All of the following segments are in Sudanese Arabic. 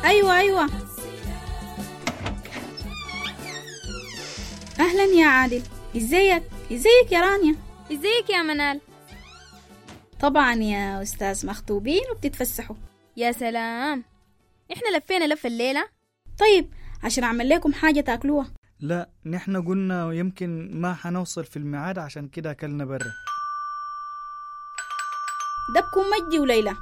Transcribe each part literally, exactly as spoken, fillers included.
أيوة أيوة. أهلا يا عادل، إزيك؟ إزيك يا رانيا؟ إزيك يا منال؟ طبعا يا أستاذ، مخطوبين وبتتفسحوا. يا سلام، إحنا لفينا لفة الليلة. طيب عشان أعمل لكم حاجة تاكلوها. لا، نحن قلنا يمكن ما حنوصل في الميعاد، عشان كده أكلنا برا. ده بكون مجدي وليلى.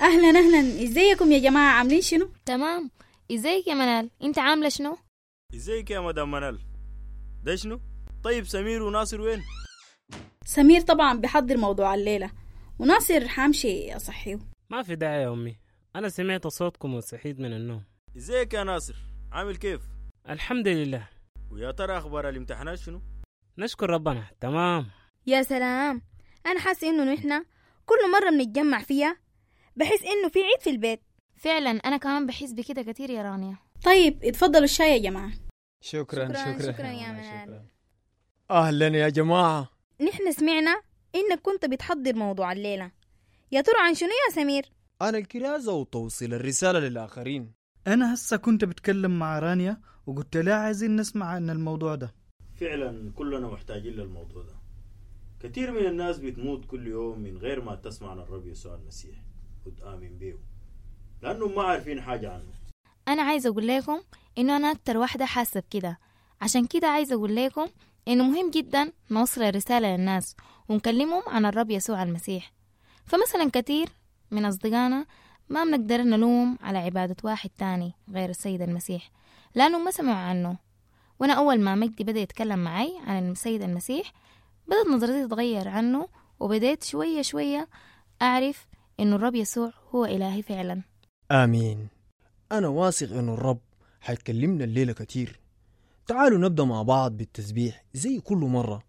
أهلا أهلا، إزيكم يا جماعة، عاملين شنو؟ تمام. إزيك يا منال، أنت عاملة شنو؟ إزيك يا مدام منال، ده شنو؟ طيب سمير وناصر وين؟ سمير طبعا بيحضر موضوع الليلة، وناصر حامشي أصحيه. ما في داعي يا أمي، أنا سمعت صوتكم وصحيت من النوم. إزيك يا ناصر، عامل كيف؟ الحمد لله. ويا ترى أخبار الامتحانات شنو؟ نشكر ربنا، تمام. يا سلام، أنا حاسة إنه نحن كل مرة بنتجمع فيها بحس إنه في عيد في البيت. فعلا أنا كمان بحس بكده كتير يا رانيا. طيب اتفضلوا الشاي يا جماعة. شكرا شكرا شكرا, شكرا يا منال. أهلا يا جماعة. نحن سمعنا إنك كنت بتحضر موضوع الليلة، يا ترى عن شنو يا سمير؟ أنا الكرازة وتوصيل الرسالة للآخرين. أنا هسه كنت بتكلم مع رانيا وقلت لها عايزين نسمع عن الموضوع ده. فعلا كلنا محتاجين للموضوع ده. كثير من الناس بتموت كل يوم من غير ما تسمع عن الرب يسوع المسيح وتآمن به، لأنهم ما عارفين حاجة عنه. أنا عايزة أقول لكم إنه أنا أكتر واحدة حاسة بكده، عشان كده عايزة أقول لكم إنه مهم جدا نوصل الرسالة للناس ونكلمهم عن الرب يسوع المسيح. فمثلا كتير من أصدقائنا ما بنقدر نلوم على عبادة واحد تاني غير السيد المسيح، لأنه ما سمعوا عنه. وأنا أول ما مجدي بدأ يتكلم معي عن السيد المسيح بدأت نظرتي تتغير عنه، وبدأت شوية شوية أعرف إنه الرب يسوع هو إلهي فعلا. آمين. أنا واثق إنه الرب حيكلمنا الليلة كتير. تعالوا نبدأ مع بعض بالتسبيح زي كل مرة.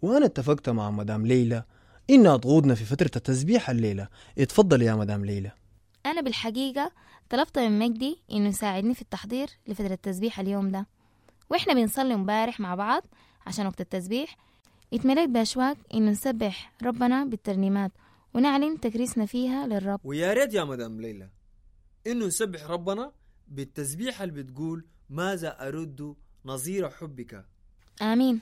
وأنا اتفقت مع مدام ليلى إنها تقودنا في فترة التسبيح الليلة. اتفضل يا مدام ليلى. أنا بالحقيقة طلبت من مجدي إنه يساعدني في التحضير لفترة التسبيح اليوم ده، وإحنا بنصلي مبارح مع بعض عشان وقت التسبيح. اتمليت بأشواق إنه نسبح ربنا بالترنيمات ونعلن تكريسنا فيها للرب. ويا ريت يا مدام ليلى إنه نسبح ربنا بالتسبيح اللي بتقول ماذا أرد نظير حبك. آمين.